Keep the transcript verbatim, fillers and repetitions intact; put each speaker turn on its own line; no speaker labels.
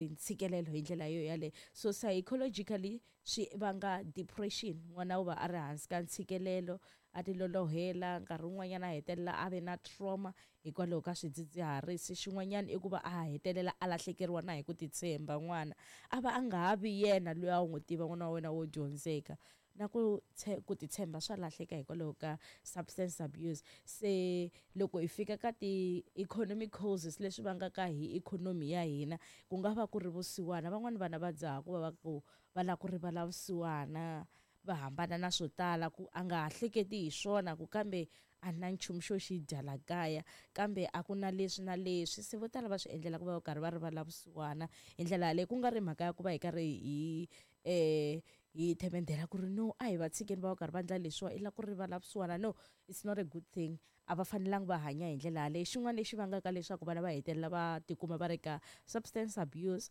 Ntshikelelo hi ndlela yo yaleyo. So psychologically swi vanga depression, n'wana u va a ri hansi ka ntshikelelo, a ti lolohela, nkarhi wun'wanyana a hetelela a ve na trauma hikwalaho ka swidzidziharisi. Xin'wanyana i ku va a hetelela a lahlekeriwa na hi ku titshemba, n'wana a va a nga ha vi yena loyi a wu n'wi tiva, n'wana wa wena wo dyondzeka, na ku ku titshemba swa lahleka hikwalaho ka substance abuse. Se loko hi fika ka ti-economic causes, leswi vangaka hi ikhonomi ya hina, ku nga va ku ri vusiwana. Van'wani vana va dzaha ku va va ku va lava ku rivala vusiwana, va hambana na swo tala, ku a nga ha hleketi hi swona, ku kambe a na nchumu xo xi dya la kaya, kambe a ku na leswi na leswi. Se vo tala va swi endlela ku va va karhi va rivala vusiwana hi ndlela yaleyo, ku nga ri mhaka ya ku va hi karhi hi um hi themendhela ku ri no, a hi va tshikeni va va karhi va endla leswiwa, i lava ku rivala vusiwana. No, it's not a good thing, a va fanelanga va hanya hi ndlela yaleyo. Xin'wana lexi vangaka leswaku vana va hetelela va tikuma va ri ka substance abuse